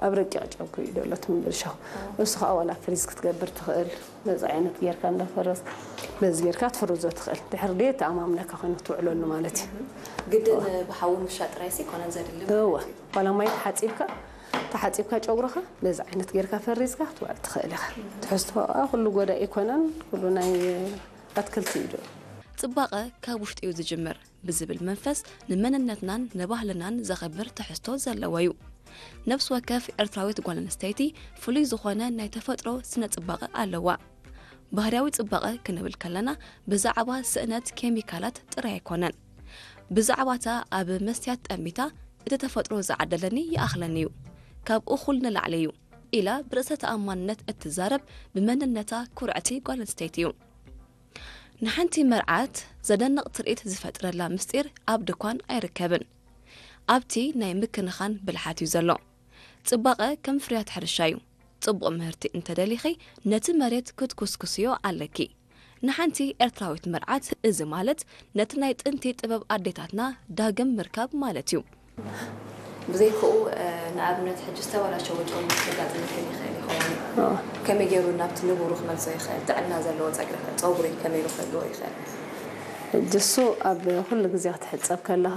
ኣብ ረቂቕ ጨጉሪ እዩ ዘሎ ትምብል ሻው። እሱ ከዓ ዋላ ፍሪዝ ክትገብር ትኽእል። በዚ ዓይነት ጌርካ እንዳፈረዝ፣ በዚ ጌርካ ትፍርዞ ትኽእል። ድሕሪ ድየ ተኣማምነካ ኮይኑ ክትውዕለሉ ማለት እዩ። ግድን ብሓዊ ምሻጥ ጥራይሲ ኮነን ዘድሊ እወ፣ ዋላ ማይ ተሓፂብካ፣ ተሓፂብካ ጨጉርኻ በዚ ዓይነት ጌርካ ፈሪዝካ ክትውዕል ትኽእል ኢኻ። ትሕዝቶ ከዓ ኩሉ ጎዳኢ ኣይኮነን፣ ኩሉ ናይ ኣትክልቲ እዩ። ጽባቐ ካብ ውሽጢ እዩ ዝጅምር ብዝብል መንፈስ፣ ንመንነትናን ንባህልናን ዘኽብር ትሕዝቶ ዘለዎ እዩ። ነፍሲ ወከፍ ኤርትራዊት ጓል ኣንስተይቲ ፍሉይ ዝኾነ ናይ ተፈጥሮ ስነ ጽባቐ ኣለዋ። ባህርያዊ ጽባቐ ክንብል ከለና፣ ብዛዕባ ስእነት ኬሚካላት ጥራይ ኣይኮነን። ብዛዕባታ ኣብ መስትያት ጠሚታ፣ እቲ ተፈጥሮ ዝዓደለኒ ይኣኽለኒ እዩ፣ ካብ እኹል ንላዕሊ እዩ ኢላ ብርእሰ ተኣማንነት እትዛረብ፣ ብመንነታ ኩርዕቲ ጓል ኣንስተይቲ እዩ። ንሓንቲ መርዓት ዘደንቕ ትርኢት ዝፈጥረላ ምስጢር ኣብ ድኳን ኣይርከብን። ኣብቲ ናይ ምክንኻን ብልሓት እዩ ዘሎ። ጽባቐ ከም ፍርያት ሕርሻ እዩ። ጽቡቕ ምህርቲ እንተደሊኺ፣ ነቲ መሬት ክትኩስኩስዮ ኣለኪ። ንሓንቲ ኤርትራዊት መርዓት፣ እዚ ማለት ነቲ ናይ ጥንቲ ጥበብ ኣዴታትና ዳግም ምርካብ ማለት እዩ። ብዘይክኡ፣ ንኣብነት፣ ሕጂ ዝተበላሸወ ጨጉሪ ከጋጥመካ ይኽእል ይኸውን። ከመይ ገይሩ ናብቲ ንቡሩ ክመልሶ ይኽእል? ጥዕና ዘለዎ ጸግሪ፣ ጸጉሪ ከመይ ኢሉ ክህልዎ ይኽእል? ሕጂ እሱ ኣብ ኩሉ ግዜ ክትሕጸብ ከለኻ፣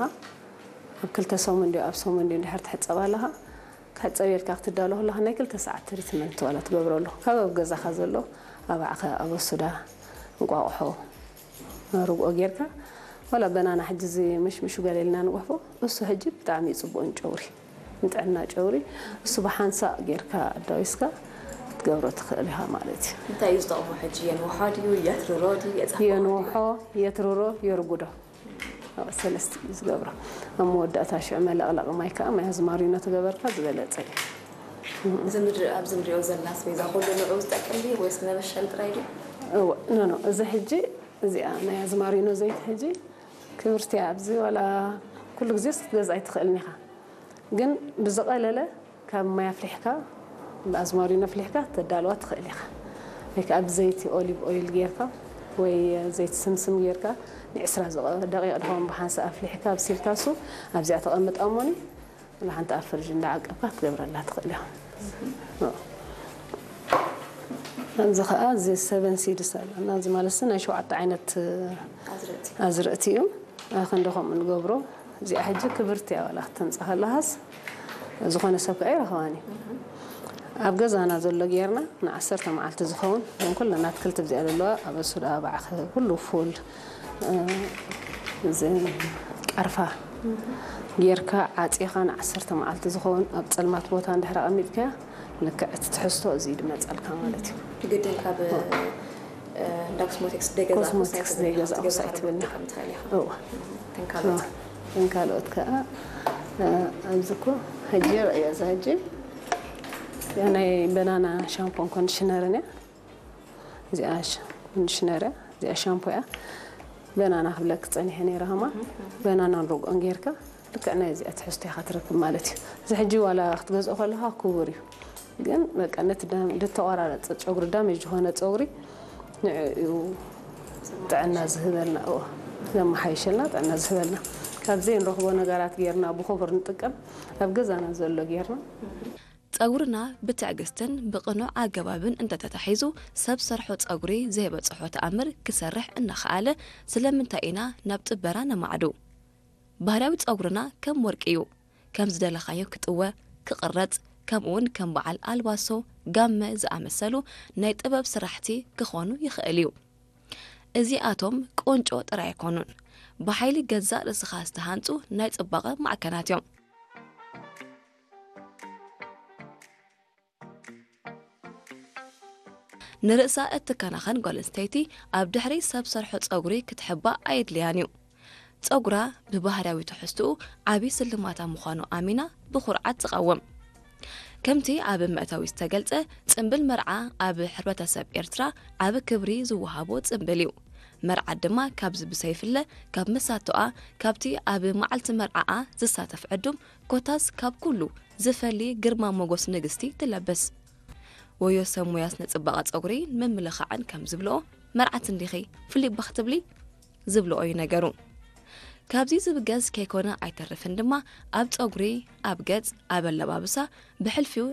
ኣብ ክልተ ሰሙን ድዩ ኣብ ሰሙን ድዩ እንድሕር ትሕጸብ ኣለኻ፣ ክሕጸብ ኢልካ ክትዳሎ ከለኻ ናይ ክልተ ሰዓት ትሪትመንት ዋላ ትገብረሉ። ካብ ኣብ ገዛኻ ዘሎ ኣባዕኸ፣ ኣበሱዳ፣ እንቋቑሖ፣ ርግኦ ጌርካ፣ ዋላ በናና ሕጂ እዚ ምሽምሹ ገለ ኢልና ንጉሕፎ፣ እሱ ሕጂ ብጣዕሚ እዩ ጽቡቕ ንጨጉሪ፣ ንጥዕና ጨጉሪ። እሱ ብሓንሳእ ጌርካ ኣዳዊስካ ክትገብሮ ትኽእል ኢኻ ማለት እዩ። እንታይ እዩ ዝጠቕሞ ሕጂ? የንውሖ ድዩ? የትርሮ ድዩ? የጸፍኦ ድዩ? የንውሖ፣ የትርሮ፣ የርጉዶ። ኣብ ሰለስተ እዩ ዝገብሮ። ኣብ መወዳእታ ሽዑ መለቕለቒ ማይ ከዓ ማይ ኣዝማሪኖ ተገበርካ ዝበለጸ እዩ። እዚ ምድሪ፣ ኣብዚ ንሪኦ ዘለና ኣስቤዛ ኩሉ ንዕኡ ዝጠቅም ድዩ ወይስ ንመበሸሊ ጥራይ ድዩ? እወ፣ ኖ፣ ኖ፣ እዚ ሕጂ፣ እዚኣ ናይ ኣዝማሪኖ ዘይቲ ሕጂ ክብርቲ እያ። ኣብዚ ዋላ ኩሉ ግዜ ክትገዝኣ ኣይትኽእልን ኢኻ። ግን ብዝቐለለ ካብ ማይ ኣፍሊሕካ፣ ብኣዝማሪኖ ኣፍሊሕካ ተዳልዋ ትኽእል ኢኻ። ወይ ከዓ ብዘይቲ ኦሊቭ ኦይል ጌርካ ወይ ዘይቲ ስምስም ጌርካ ንዕስራ ዝቐ-፣ ደቂቕ ድኾን ብሓንሳእ ኣፍሊሕካ ኣብሲልካ እሱ ኣብዚኣ ተቐምጣ እሞኒ፣ ወላ ሓንቲ ኣብ ፍርጅ እንዳዓቀብካ ክትገብረላ ትኽእል ኢኻ። ኣብዚ ኸዓ እዚ ሰቨን ሲድስ ኣሎ። እና እዚ ማለት እዚ ናይ ሸውዓተ ዓይነት ኣዝርእቲ። ኣዝርእቲ እዩ። ኣኸንደ ከምኡ ንገብሮ። እዚኣ ሕጂ ክብርቲ እያ፣ ዋላ ክትተምጻ ከለኻስ ዝኾነ ሰብ ከኣ ይረኽባን እዩ። ኣብ ገዛና ዘሎ ጌርና ንዓሰርተ መዓልቲ ዝኸውን፣ እዞም ኩለን ኣትክልቲ ኣብዚኣ ዘለዋ፣ ኣበሱዳ፣ ባዕኸ፣ ኩሉ ፉል፣ እ፣ እዚ ቀርፋ ጌርካ ዓጺኻ ንዓሰርተ መዓልቲ ዝኸውን ኣብ ጸልማት ቦታ እንድሕር ኣቐሚጥካያ፣ ልክዕ እቲ ትሕዝቶ እዚ እዩ ዝመጸልካ ማለት እዩ። ግድን ካብ፣ እ፣ እንዳ ኮስሞቲክስ ደገዛ ኮስሞቲክስ ደገዛ ክትገዛ ክትገዛ ኣይትብልን ኢኻ። ክትጥቀም ትኽእል ኢኻ። እወ። እተን ካልኦት? እተን ካልኦት ከኣ፣ እ፣ ኣብዚ እኮ ሕጂ ርእዮ፣ እዛ ሕጂ እዚኣ ናይ በናና ሻምፖን ኮንዲሽነርን እያ። እዚኣ ሽ-፣ ኮንዲሽነር እያ፣ እዚኣ ሻምፖ እያ። በናና ክብለክ ጸኒሐ ነይረ፣ ከማ በናናን ርግኦን ጌርካ ልክዕ ናይ እዚኣ ትሕዝቶ ኢኻ ትረክብ ማለት እዩ። እዚ ሕጂ ዋላ ክትገዝኦ ከለኻ ክቡር እዩ፣ ግን በቃ ነቲ ዳም-፣ ዝተቆራረጸ ጨጉሪ፣ ዳሜጅ ዝኾነ ጸጉሪ ንዕኡ እዩ ጥዕና ዝህበልና፣ እዎ፣ ዘመሓይሸልና፣ ጥዕና ዝህበልና። ካብ ዘይንረኽቦ ነገራት ጌርና ብኽቡር ንጥቀም፣ ኣብ ገዛና ዘሎ ጌርና። ጸጉርና ብትዕግስትን ብቕኑዕ ኣገባብን እንተተታሒዙ፣ ሰብ ሰርሖ ጸጉሪ ዘይበጽሖ ተኣምር ክሰርሕ እናኸኣለ፣ ስለምንታይ ኢና ናብ ጥበራ ነማዕዱ? ባህርያዊ ጸጉርና ከም ወርቂ እዩ። ከም ዝደለኻዮ ክጥወ፣ ክቕረጽ፣ ከምኡውን ከም በዓል ኣልባሶ፣ ጋመ ዝኣመሰሉ ናይ ጥበብ ስራሕቲ ክኾኑ ይኽእል እዩ። እዚኣቶም ቁንጮ ጥራይ ኣይኮኑን። ብሓይሊ ገዛእ ርእስኻ ዝተሃንጹ ናይ ጽባቐ ማዕከናት እዮም። ንርእሳ እትከናኸን ጓል ኣንስተይቲ ኣብ ድሕሪ ሰብ ሰርሖ ጸጉሪ ክትሕባእ ኣየድልያን እዩ። ጸጉራ ብባህርያዊ ትሕዝትኡ ዓቢ ስልማታ ምዃኑ ኣሚና ብኹርዓት ትቐውም። ከምቲ ኣብ መእተዊ ዝተገልጸ፣ ጽምብል መርዓ ኣብ ሕብረተሰብ ኤርትራ ዓቢ ክብሪ ዝወሃቦ ጽምብል እዩ። መርዓት ድማ ካብዚ ብሰይፍለ ካብ መሳቶኣ፣ ካብቲ ኣብ መዓልቲ መርዓኣ ዝሳተፍ ዕዱም፣ ኮታስ ካብ ኩሉ ዝፈሊ ግርማ ሞጎስ ንግስቲ ትለብስ። ወዮ ሰብ ሞያ ስነ ጽባቐ ጸጉሪ ንምምልኻዕን ከም ዝብልኦ፣ መርዓት እንዲኺ ፍልይ ባኽ ትብሊ ዝብልኦ እዩ ነገሩ። ካብዚ ዝብገስ ከይኮነ ኣይተርፍን ድማ ኣብ ጸጉሪ፣ ኣብ ገጽ፣ ኣብ ኣለባብሳ፣ ብሕልፊኡ